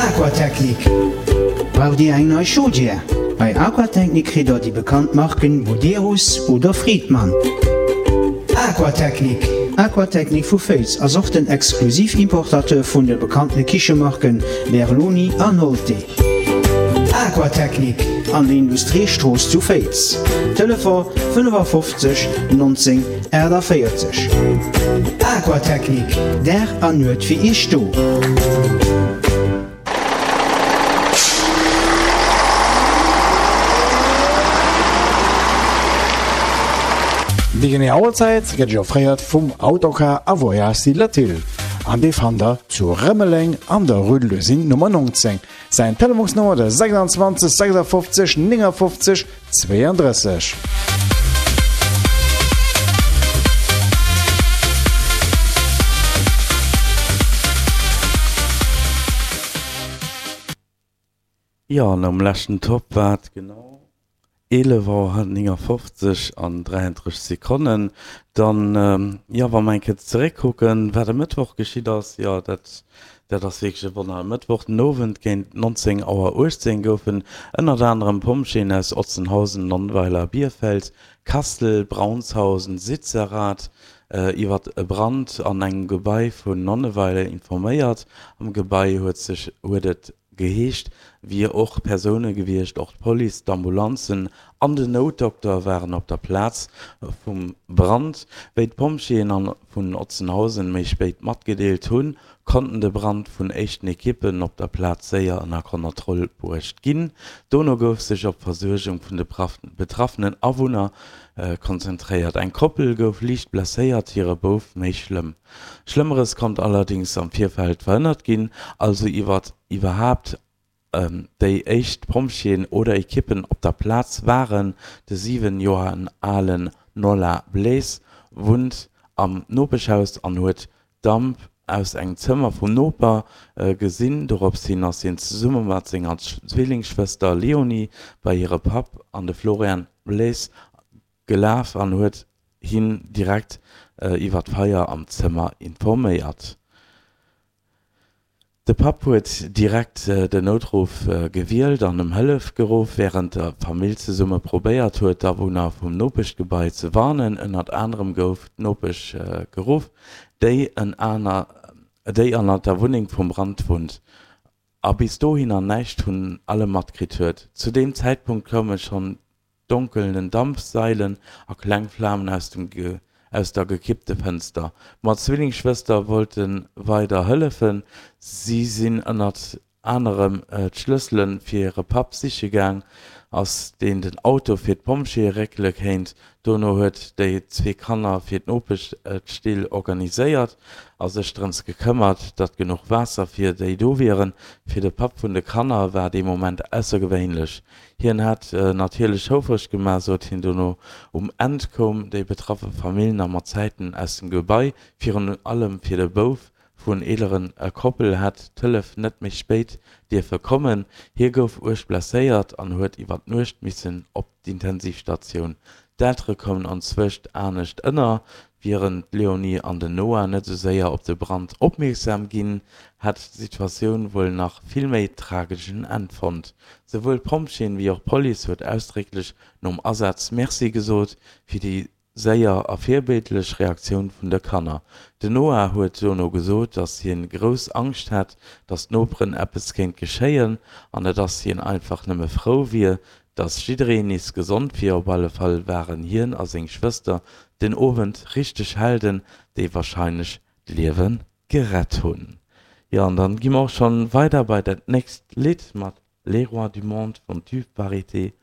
Aquatechnik. Braucht Dir eng nei Chaudière? Bei Aquatechnik kritt der déi bekannt Marken Buderus oder Friedmann. Aquatechnik. Aquatechnik vu Féiz ass och den Exklusiv-Importateur vun de bekannte Kichemarken Berloni an Nolte. Aquatechnik an der Industriestrooss zu Féiz. Telefon 55 19 48. Aquatechnik, Dag an Nuet fir Iech do. Déi genee Auerzäit gëtt Iech offréiert vum Autocar a Voyages Latil an dee fannt der zu Rëmeleng an der Rue de l'Usine Nummer 19. Säin Telefonsnummer de 26 56 59 32. Jo, an am leschten Topp war et genau 11 Auer 59 an 33 Sekonnen. Dann, jo, wa mer eng Kéier zeréckkucken, wat e Mëttwoch geschitt ass, jo, dat, dat ass wierklech e Wonner. E Mëttwoch den Owend géint 19 Auer 18 goufen ënnert anerem Pompjeeën aus Otzenhausen, Nonnweiler, Bierfeld, Kastel, Braunshausen, Sitzerath iwwert e Brand an engem Gebai vun Nonneweiler informéiert. Am Gebai huet sech huet et geheescht, wier och Persoune gewiescht. Och d'Police, d'Ambulanzen an den Noutdokter waren op der Plaz vum Brand. Wéi d'Pompjeeën an vun Otzenhausen méi spéit matgedeelt hunn, konnten de Brand vun éischten Ekippen op der Plaz séier ënner Konnertroll bruecht ginn. Dono gouf sech op d'Versuergung vun de betraffenen Awunner konzentréiert. Eng Koppel gouf liicht blesséiert, hire Bouf méi schlëmm. Schlëmmeres konnt allerdéngs am Virfeld verhënnert ginn, also iwwert iwwerhaapt déi éischt Pompjeeën oder Ekippen op der Plaz waren. De 7 Joer alen Nola Blaise wunnt am Nopeschhaus an huet Damp aus engem Zëmmer vum Noper gesinn. Dorops hin ass hien zesumme mat senger Zwillingsschwëster Leonie bei hire Papp an de Florian Blaise gelaf an huet hien direkt iwwer d'Feier am Zëmmer informéiert. De Papp huet direkt den Noutruff gewielt an ëm Hëllef geruff, wärend d'Famill zesumme probéiert huet, d'Awunner vum Nopeschgebai ze warnen. Ënnert anerem gouf d'Nopesch geruff, déi ënnert der Wunneng vum Brand wunnt a bis dohinner näischt vun allem matkritt huet. Zu deem Zäitpunkt koume schonn donkelnden Dampfsailen a kleng Flamen aus dem aus der gekippte Fënster. Ma d'Zwillingsschwëster wollte weider hëllefen. Si sinn ënnert anerem d'Schlëssele fir hire Papp siche gaang, ass deen den Auto fir d'Pompjeeë réckele kéint. Dono huet déi zwee Kanner fir d'Nopesch d'Still organiséiert a sech drëms gekëmmert, datt genuch Waasser fir déi do wieren. Fir de Papp vun de Kanner war dee Moment aussergewéinlech. Hien hätt natierlech houfreg gemaach, sot hien dono. Um Enn koum déi betraffe Famill nach mat Zäiten aus dem Gebai. Virun allem fir de Bouf vun eeleren Koppel hätt d'Hëllef net méi spéit dierfe kommen. Hie gouf uerg blesséiert an huet iwwer d'Nuecht missen op d'Intensivstatioun. D'Eltere koumen anzwëscht anescht ënner. Wieren d'Leonie an den Noah net esou séier op de Brand opmierksam ginn, hätt d'Situatioun wuel nach vill méi trageschen Enn fonnt. Souwuel d'Pompjeeën wéi och d'Police huet ausdrécklech nom Asaz Merci gesot fir déi séier a virbildlech Reaktioun vun de Kanner. Den Noah huet dono gesot, dass hien grouss Angscht hätt, dass d'Noperen eppes kéint geschéien an et ass hien einfach nëmme frou wier, Dass jiddereen nees gesond wier, op alle Fall waren hien a seng Schwëster den Owend richteg Helden, déi warscheinlech d'Liewe gerett hunn. Jo, an dann gi mer och schonn weider bei dat nächst Lidd mat Les Rois du Monde vum Tube Varieté.